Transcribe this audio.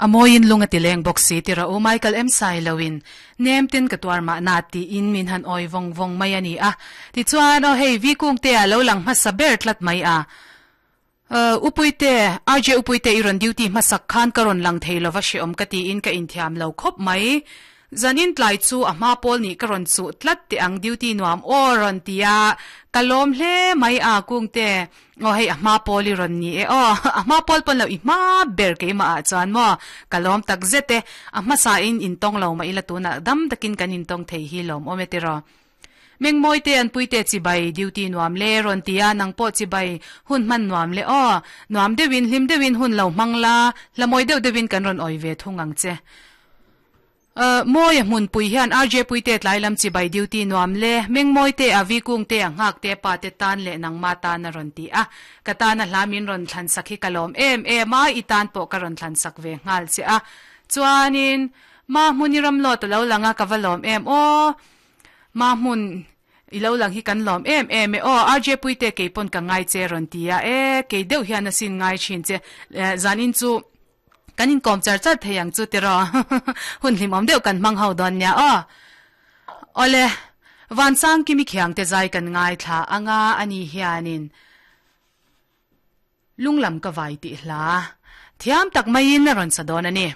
A mawiin lung a ti leng bawk si tira u Michael em sai loin nem ten ka tuar mahna tiin min han awi vawng vawng mai a ni a. Tichuan aw hei Vi Kungte a lo lang hmasa ber tlat mai a. Uh, Upuite, RJ Upuite i rawn duty hmasak khan ka rawn lang thei lova hreawm ka tiin ka inthiam lo khawp mai. Zanin tlai chu a hma pawl nih ka rawn chuh tlat teh ang duty nuam aw rawn ti a, ka lawm hle mai a Kungte. Aw hei a hma pawl i rawn ni e aw, a hma pawl pawn lo i hma ber keimah ah chuan maw ka lawm tak zet e, a hmasa in intawng lo mah ila tunah dam takin kan intawng thei hi lawm awm e tiraw. Mengmawi te an puite chibai duty nuam le rawn ti a, nang pawh chibai hun hman nuam le aw. Nuam deuhin hlim deuhin hun lo hmang la, hla mawi deuh deuhin kan rawn awi ve thung ang che. Uh, mawi a hmunpui hian RJ puite tlai lam chibai duty nuam le, mengmawi te a vi kung te a nghak te pa te tan leh nangma tan a rawn ti a. Ka tan a hla min rawn thlan sak hi ka lawm em em a, i tan pawh ka rawn thlan sak ve nghal che a. Chuanin, ma hmun i ram lawt a lo lang a, ka va lawm em aw. Ma hmun i lo lang hi kan lawm em em e aw RJ Puite kei pawn ka ngai che rawn ti a e kei deuh hian a sin ngai thin che zanin chu kan inkawm char char thei ang chu tiraw hun hlimawm deuh kan hmang ho dawn nia aw Awle Vansang Kimi Khiangte zai kan ngaithla anga ani hianin Lunglam ka vai tih hla thiam tak maiin a rawn sa dawn a ni.